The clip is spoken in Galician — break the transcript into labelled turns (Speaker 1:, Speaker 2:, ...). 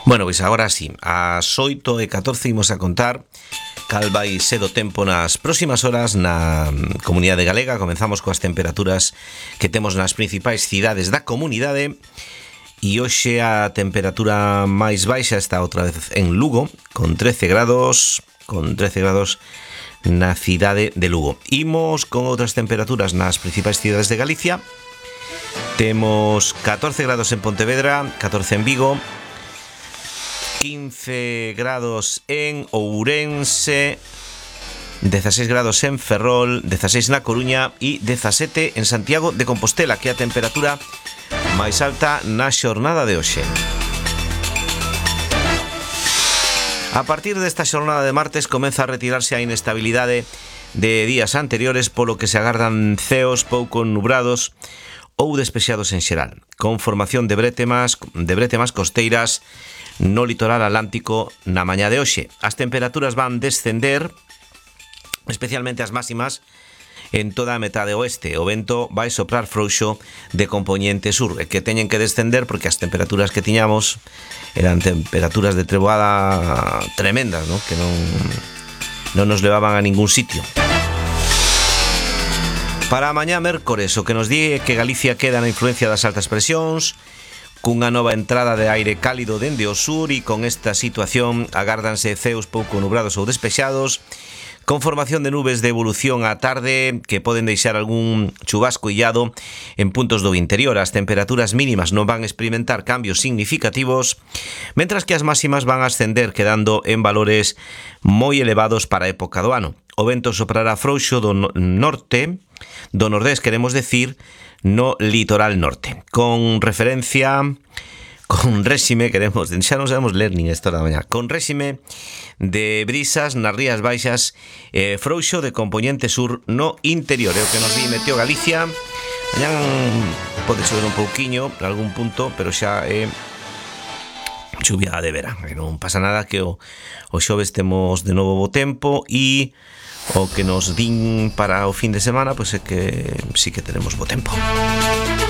Speaker 1: Bueno, pois agora sí, ás 8:14 imos a contar cal vai ser o tempo nas próximas horas na comunidade galega. Comenzamos coas temperaturas que temos nas principais cidades da comunidade. E hoxe a temperatura máis baixa está outra vez en Lugo, con 13 grados na cidade de Lugo. Imos con outras temperaturas nas principais cidades de Galicia. Temos 14 grados en Pontevedra, 14 en Vigo, 15 grados en Ourense, 16 grados en Ferrol, 16 na Coruña e 17 en Santiago de Compostela, que é a temperatura máis alta na xornada de hoxe. A partir desta xornada de martes comeza a retirarse a inestabilidade de días anteriores, polo que se agardan ceos pouco nubrados ou despexados en xeral, con formación de bretemas costeiras no litoral atlántico na mañá de hoxe. As temperaturas van descender, especialmente as máximas, en toda a metade oeste. O vento vai soprar frouxo de compoñente sur, e que teñen que descender porque as temperaturas que tiñamos eran temperaturas de treboada tremendas, ¿no? Que non nos levaban a ningún sitio. Para a mañá mércores, o que nos di é que Galicia queda na influencia das altas presións, cunha nova entrada de aire cálido dende o sur, e con esta situación agárdanse ceos pouco nubrados ou despexados, con formación de nubes de evolución á tarde que poden deixar algún chubasco illado en puntos do interior. As temperaturas mínimas non van experimentar cambios significativos, mentras que as máximas van a ascender, quedando en valores moi elevados para a época do ano. O vento soprará frouxo do norte, do nordés, queremos decir, no litoral norte, con réxime, xa non sabemos ler nin esta da mañá, con réxime de brisas nas rías baixas, frouxo de compoñente sur no interior. É o que nos di Meteo Galicia. Mañá pode chover un pouquiño en algún punto, pero xa é chuvia de verán, non pasa nada, que o xoves temos de novo bo tempo, e o que nos din para o fin de semana pois é que sí que tenemos bo tempo.